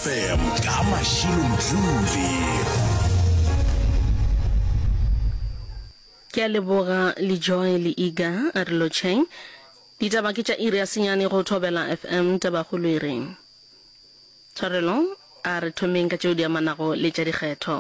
FM ka Mashilo Mdluli. Ke a leboga le Joy le Iga a re lotšheng. Ditaba ke tša iri ya senyane go Thobela FM tabakgolo e reng. Tshwarelo a re thomeng ka tšeo di amanago le tša dikgetho.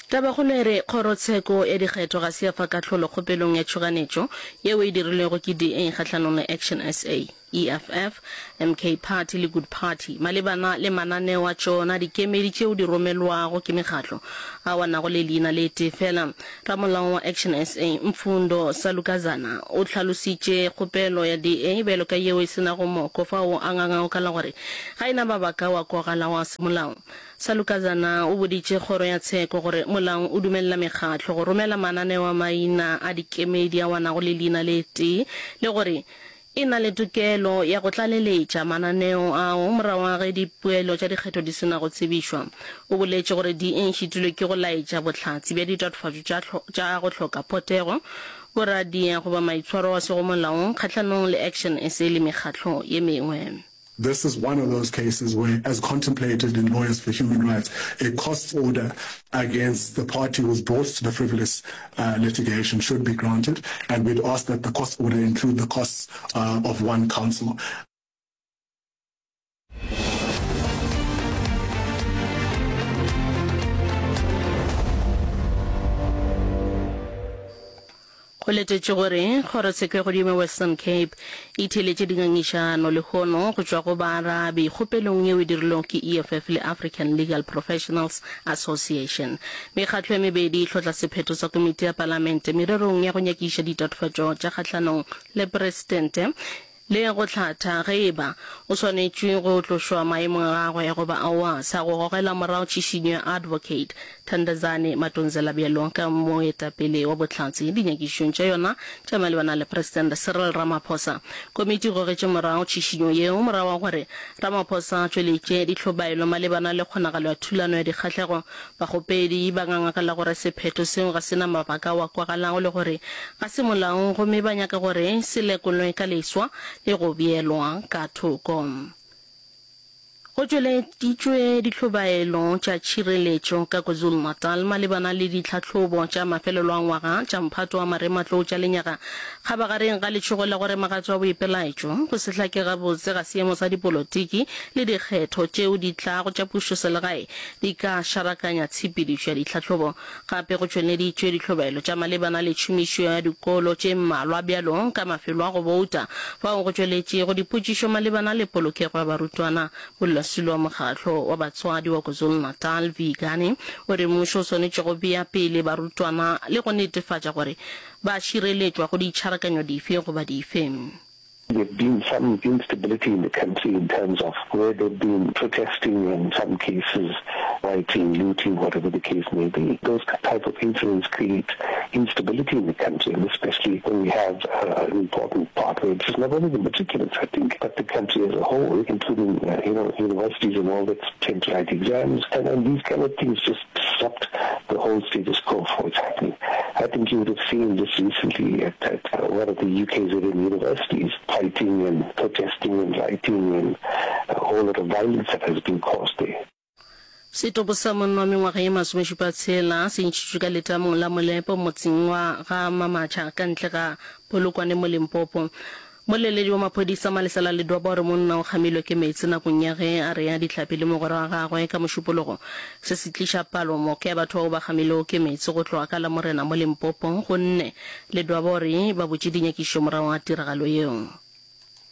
Tabakgolo e re Kgorotsheko ya Dikgetho ga se ya fa kahlolo kgopelong ya tšhoganetšo yeo e dirilwego ke DA kgahlanong le Action SA, EFF, MK Party le Good Party malebana le mananeo a tšona dikemedi tšeo di romelwago ke mekgatlo ao a nago le leina le tee fela. Ramolao wa Action SA, Mfundo Salukazana o hlalositše kgopelo ya DA bjalo ka yeo e se nago moko fao a ngangago ka la gore ga e na mabaka ao a kwagalago a semolao. Salukazana o boditše kgoro ya tsheko gore molao o dumelela mekgatlo go romela mananeo a maina a dikemedi ao a nago le leina le tee le gore e na le tokelo ya go tlaleletša mananeo ao morago ga ge dipoelo tša dikgetho di se na go tsebišwa. O boletše gore DA e šitilwe ke go laetša bohlatse bja ditatofatšo tša tša go hloka potego, boradia goba maitshwaro a sego molaong kgahlanong le Action SA le mekgatlo ye mengwe. This is one of those cases where, as contemplated in Lawyers for Human Rights, a costs order against the party who was brought to the frivolous litigation should be granted, and we'd ask that the costs order include the costs of one counsel. Go letetšwe gore Kgorotsheko ya Godimo ya Western Cape e theeletše dingangišano lehono go tšwa go baarabi kgopelong yeo e dirilwego ke EFF le African Legal Professionals Association. Mekgatlo e mebedi e hlotla sephetho sa komiti ya palamente mererong ya go nyakiša ditatofatšo tša kgahlanong le presidente Le go hlatha ge e ba o swanetšwe go tlošwa maemong a gagwe goba aowa, sa go gogela morago tšhišinyo ya Advocate Thandazani Matonzela bjalo ka moetapele wa bohlatse dinyakišišong tša yona tša malebana le Presidente Cyril Ramaphosa. Komiti e gogetše morago tšhišinyo yeo morago ga gore Ramaphosa a tšweletše dihlobaelo malebana le kgonagalo ya thulano ya dikgahlego Bakgopedi ba ngangakala gore sephetho seo ga se na mabaka ao a kwagalago le gore ga se molaong gomme ba nyaka gore se lekolwe ka leswa le go beelwa ka thoko. Go tšweleditšwe dihlobaelo tša tšhireletšo ka KwaZulu-Natal malebana le ditlhahlobo tša mafelelo a ngwaga tša mphato wa marematlou tša lenyaga kgabagareng ga letšhogo la gore magato a boipelaetšo, go se hlake gabotse ga seemo sa dipolotiki le dikgetho tšeo di tlago tša pušoselegae di ka šarakanya tshepedišo ya ditlhahlobo. Gape go tšweleditšwe dihlobaelo tša malebana le tšhomišo ya dikolo tše mmalwa bjalo ka mafelo a go bouta, fao go tšweletšego dipotšišo malebana le polokego ya barutwana. Modulasetulo wa Mokgatlo wa Batswadi wa KwaZulu-Natal, Vee Gani, o re mmušo o swanetše go bea pele barutwana le go netefatša gore ba šireletšwa go ditšharakanyo dife goba dife. There've been some instability in the country in terms of where they've been protesting in some cases, rioting, looting, whatever the case may be. Those type of incidents create instability in the country, and especially when we have uh, an important part where it's not only the matriculants, I think, but the country as a whole, including, uh, you know, universities and all that tend to write exams. And, and these kind of things just disrupt the whole status quo for what's happening. I think you would have seen just recently at, at uh, one of the UKZN universities fighting and protesting and rioting and a whole lot of violence that has been caused there. Setopo sa monna wa mengwaga ye masomešupa-tshela se ntšhitšwe ka letamong la Molepo motseng wa ga Mamatšha ka ntle ga Polokwane mo Limpopo. Moleledi wa maphodisa Malesela Ledwaba o re monna o kgamilwe ke meetse nakong ya ge a rea dihlapi le mogwera wa gagwe ka Mošupologo. Se se tliša palo moka ya batho bao ba kgamilwego ke meetse go tloga ka Lamorena mo Limpopo gonne Ledwaba o re ba butše dinyakišišo morago ga tiragalo yeo.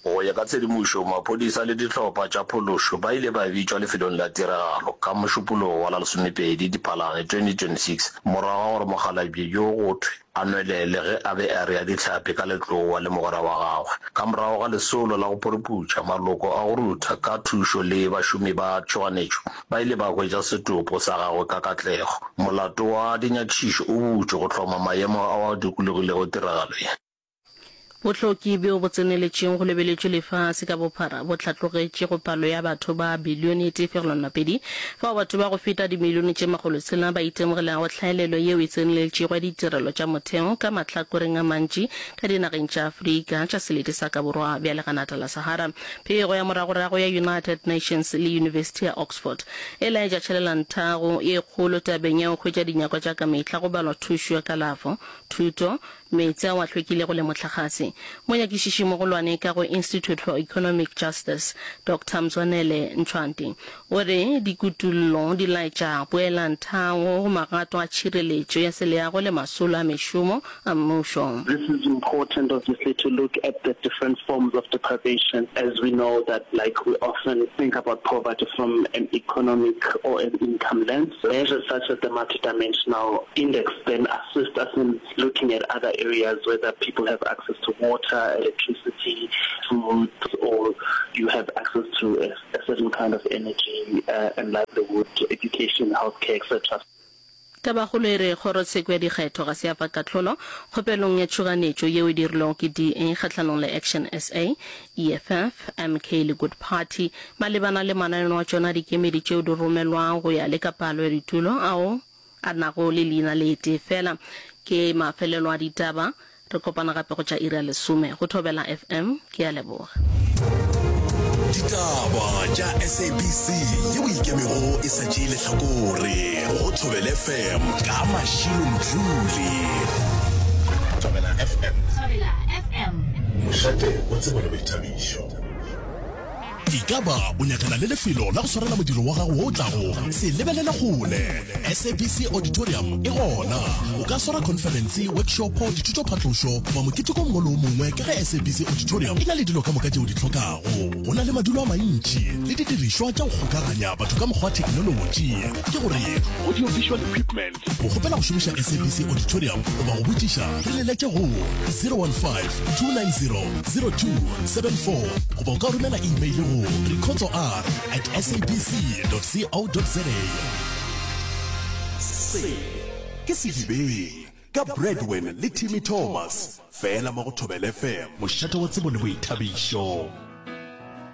Go ya ka tshedimošo, maphodisa le dihlopha tša phološo ba ile ba bitšwa lefelong la tiragalo ka Mošupologo wa la lesomepedi Diphalane 2026 morago ga gore mokgalabje yo go thwe a nwelele ge a be a rea dihlapi ka letlowa le mogwera wa gagwe. Ka morago ga lesolo la go phuruputša, maloko a go rutha ka thušo le bašomi ba tšhoganetšo ba ile ba hwetša setopo sa gagwe ka katlego. Molato wa dinyakišišo o butšwe go hloma maemo ao a dikologilego tiragalo ye. Bohloki bjo bo tseneletšego go lebeletšwe lefase ka bophara bo hlatlogetše go palo ya batho ba bilione e tee fegelwana pedi, fao batho ba go feta dimilione tše makgolotshela ba itemogelago tlhaelelo yeo e tseneletšego ya ditirelo tša motheo ka mahlakoreng a mantši ka dinageng tša Afrika tša selete sa ka borwa bja leganata la Sahara. Pego ya moragorago ya United Nations le Yunibesithi ya Oxford e laetša tšhelelanthago ye kgolo tabeng ya go hwetša dinyakwa tša ka mehla go balwa thušo ya kalafo, thuto, meetse ao a hlwekilego le mohlagase. Monyakišišimogolwane ka go Institute for Economic Justice, Doctor Mzwanele Ntshwanti, o re dikutullo di laetša poelanthago go magato a tšhireletšo ya seleago le masolo a mešomo a mmušo. This is important obviously to look at the different forms of deprivation as we know that like we often think about poverty from an economic or an income lens. Measures such as the multidimensional index then assist us in looking at other areas whether people have access to water, electricity, food or you have access to a, a certain kind of energy uh, and livelihood, education, healthcare, etc. Tabakgolo e re Kgorotsheko ya Dikgetho ga se ya fa kahlolo kgopelong ya tšhoganetšo yeo e dirilwego ke DA kgahlanong le Action SA, EFF, MK le Good Party malebana le mananeo a tšona a dikemedi tšeo di romelwago go ya le ka palo ya ditulo ao a nago le leina le tee feela. Ke mafelelo a ditaba. Re kopana gape go tša iri ya lesome go Thobela FM. Ke a leboga. Ditaba tša SABC yeo e ikemego e sa tšee lehlakore go Thobela FM ka Mashilo Mdluli. Thobela FM. Thobela FM. Mošate wa tsebo le boithabišo. Ekaba o nyakana le lefelo la go swarela modiro wa gago wo o tlago? Se lebelele kgole! SABC Auditorium e gona. O ka swara khonferense, workshopo, dithutophatlošo goba moketeko o mongwe le o mongwe ka ge SABC Auditorium e na le dilo ka moka tše o di hlokago. Go na le madulo a mantši le didirišwa tša go kgokaganya batho ka mokgwa wa theknolotši, ke gore audio-visual equipment. Go kgopela go šomiša SABC Auditorium goba go botšiša, re leletše go 015 290 0274 goba o ka romela email go rikhotsoR at sabc.co.za. Se ke Sedibeng ka Bradwin le Timmy Thomas, fela mo go Thobela FM, mošate wa tsebo le boithabišo.